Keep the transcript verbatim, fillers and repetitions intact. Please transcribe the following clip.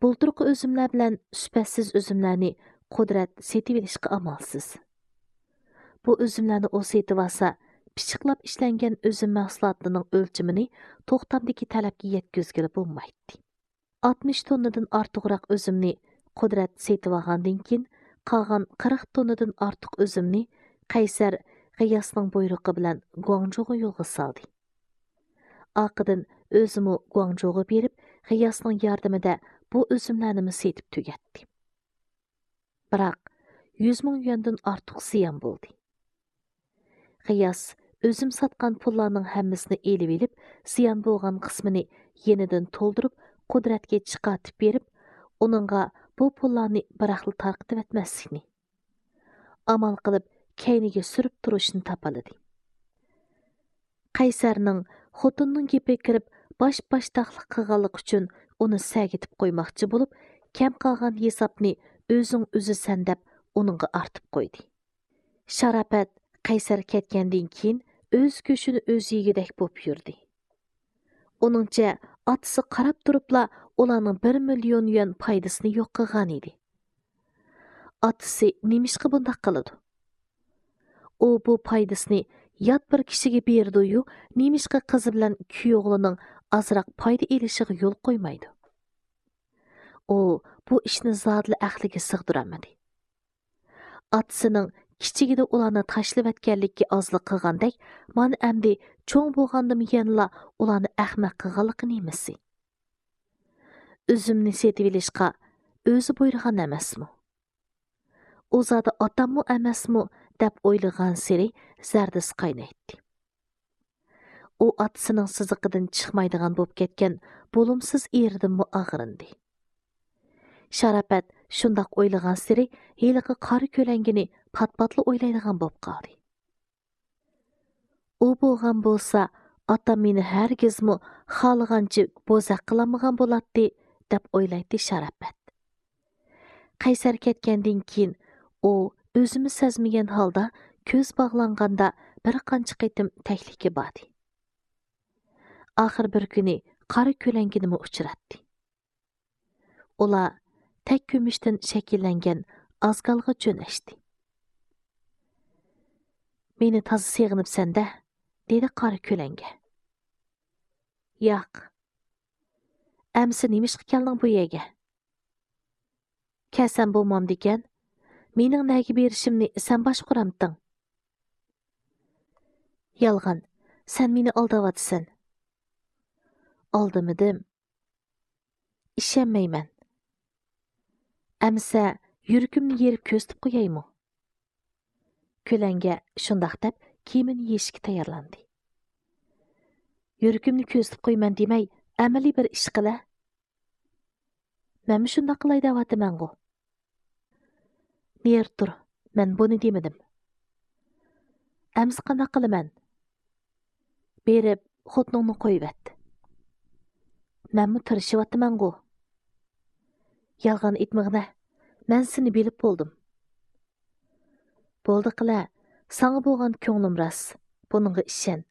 بۇلتۇرقى ئۈزۈملەر بىلەن سۈپەتسىز ئۈزۈملەرنى قۇدرەت سېتىۋېلىشقا ئامالسىز. بۇ ئۈزۈملەرنى ئۇ سېتىۋالسا، پىششىقلاپ ئىشلەنگەن ئۈزۈم مەھسۇلاتىنىڭ ئۆلچىمىنى توختامدىكى تەلەپكە يەتكۈزگىلى بولمايتتى. ئاتمىش توننىدىن ئارتۇقراق ئۈزۈمنى قۇدرەت سېتىۋالغاندىن كېيىن، قالغان قىرىق توننىدىن ئارتۇق ئۈزۈمنى قەيسەر غىياسنىڭ بۇيرۇقى بىلەن گۇاڭجۇغا يولغا سالدى. ئارقىدىن ئۆزىمۇ گۇاڭجۇغا بېرىپ، غىياسنىڭ ياردىمىدە بۇ ئۈزۈملەرنىمۇ سېتىپ تۈگەتتى. بىراق، يۈز مىڭ يۈەندىن ئارتۇق زىيان بولدى. غىياس ئۈزۈم ساتقان پۇللارنىڭ ھەممىسىنى ئېلىۋېلىپ، زىيان بولغان قىسمىنى يېنىدىن تولدۇرۇپ، قۇدرەتكە چىقارتىپ بېرىپ، ئۇنىڭغا بۇ پۇللارنى بىراقلا تارقىتىۋەتمەسلىكنى، ئامال قىلىپ كەينىگە سۈرۈپ تۇرۇشنى تاپالىدى. قەيسەرنىڭ خوتۇننىڭ گېپىگە كىرىپ، باش-باشتاقلىق قىلغانلىقى ئۈچۈن ئۇنى سەگىتىپ قويماقچى بولۇپ، كەم قالغان ھېسابنى ئۆزۈڭ ئۈزىسەن دەپ ئۇنىڭغا ئارتىپ قويدى. شاراپەت قەيسەر كەتكەندىن كېيىن ئۆز گۆشىنى ئۆزى يېگۈدەك بولۇپ يۈردى. ئۇنىڭچە، ئاتىسى قاراپ تۇرۇپلا ئۇلارنىڭ بىر مىليون يۈەن پايدىسىنى يوق قىلغان ئىدى. ئاتىسى نېمىشقا بۇنداق قىلىدۇ؟ ئۇ بۇ پايدىسىنى يات بىر كىشىگە بېرىدۇ-يۇ، نېمىشقا قىزى بىلەن كۈيئوغلىنىڭ ئازراق پايدا ئېلىشىغا يول قويمايدۇ؟ ئۇ بۇ ئىشنى زادىلا ئەقلىگە سىغدۇرالمىدى. ئاتىسىنىڭ كىچىكىدە ئۇلارنى تاشلىۋەتكەنلىكى ئازلىق قىلغاندەك، مانا ئەمدى چوڭ بولغاندىمۇ يەنىلا ئۇلارنى ئەخمەق قىلغانلىقى نېمىسى؟ ئۈزۈمنى سېتىۋېلىشقا ئۆزى بۇيرۇغان ئەمەسمۇ؟ ئۇ زادى ئاتاممۇ ئەمەسمۇ دەپ ئويلىغانسېرى زەردىسى قاينايتتى. ئۇ ئاتىسىنىڭ سىزىقىدىن چىقمايدىغان بولۇپ كەتكەن بولۇمسىز ئېرىدىنمۇ ئاغرىندى. شاراپەت شۇنداق ئويلىغانسېرى ھېلىقى قارا كۆلەڭگىنى پات-پاتلا ئويلايدىغان بولۇپ قالدى. ئۇ بولغان بولسا، ئاتام مېنى ھەرگىزمۇ خالىغانچە بوزەك قىلالمىغان بولاتتى، دەپ ئويلايتتى شاراپەت. قەيسەر كەتكەندىن كېيىن، ئۇ ئۆزىمۇ سەزمىگەن ھالدا كۆز باغلانغاندا بىر قانچە قېتىم تەكلىككە باردى. ئاخىر بىر كۈنى قارا كۆلەڭگىنىمۇ ئۇچراتتى. ئۇلار تەك كۈمۈشتىن شەكىللەنگەن ئازگالغا جۆنەشتى. مېنى تازا سېغىنىپسەن-دە، دېدى قارا كۆلەڭگە. ياق. ئەمسە نېمىشقا كەلدىڭ بۇ يەرگە؟ كەلسەم بولمامدىكەن؟ مېنىڭ نەگە بېرىشىمنى سەن باشقۇرامتىڭ؟ يالغان، سەن مېنى ئالداۋاتىسەن. ئالدىمىدىم. ئىشەنمەيمەن. ئەمسە يۈرىكىمنى يېرىپ كۆزىتىپ قويايمۇ؟ كۆلەڭگە شۇنداق دەپ كىيىمىنى يېيىشكە تەييارلاندى. يۈرىكىمنى كۆزىتىپ قويىمەن دېمەي، ئەمەلىي بىر ئىش قىلە. مەنمۇ شۇنداق قىلاي دەۋاتىمەنغۇ. نېرى تۇر، مەن بۇنى دېمىدىم. ئەمسە قانداق قىلىمەن؟ بېرىپ، خوتۇنۇڭنى قويۇۋەت. مەنمۇ تىرىشىۋاتىمەنغۇ. يالغان ئېيتمىغىنە، مەن سېنى بىلىپ بولدۇم. بولدى قىلە، ساڭا بولغان كۆڭلۈم راست، بۇنىڭغا ئىشەن،